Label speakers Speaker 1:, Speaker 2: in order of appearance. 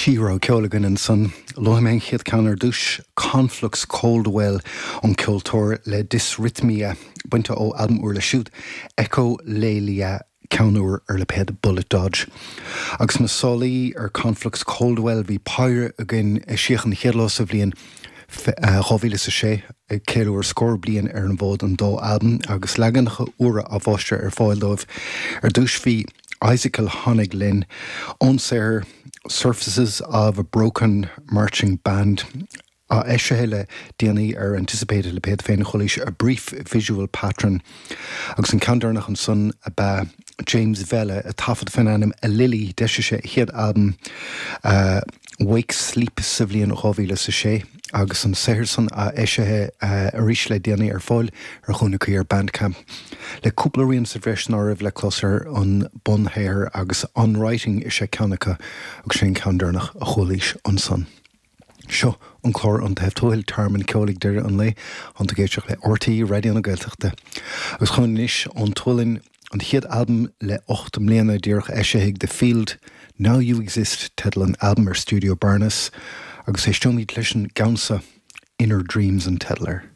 Speaker 1: Trí rogha ceoil againn ansan. Luafaidh mé an chéad ceann ar dtús, Conflux Coldwell, an ceoltóir le Dysrhythmia, bainte ó albam úr leis siúd, Echolalia, ceann úr ar lipéad Bullet Dodge. Agus na sálaí ar Conflux Coldwell bhí péire againn eisíodh an chéad lá sa bhliain 2006, ag ceiliúradh scór bliain ar an bhfód an dá albam agus leaganacha úra á bhfáistreadh ar fáil dóibh. Ar dtús bhí Icicle Honig linn ón saothar Surfaces of a Broken Marching Band, á eisithe le déanaí ar Anticipate a lipéad féin, chualaís A Brief Visual Pattern. Agus an ceann deireanach ansan ab ea James Vella, ag taifead faoin ainm Alili, d'eisigh sé a chéad albam Wake Sleep sa bhliain 2006 agus an saothar san á eisithe arís le déanaí ar fáil ar chúnamh cuí ar Bandcamp. Le cúpla rian sa bhreis ná raibh le clos ar an bunshaothar agus On Writing is ea ceann acu agus sin an ceann deireanach a chualaís ansan. Seo an clár An Taobh Tuathail, Tearmann Ceoil ag deireadh an lae, tánn tú ag éisteacht le RTÉ Raidió na Gaeltachta. Agus chugainn anois ón tSualainn, an chéad albam le 8 mbliana díreach eisithe ag The Field, Now You Exist teideal an albaim ar Stiúideo Barnes, agus éisteoimid leis an gceann seo, Inner Dreams an teideal air.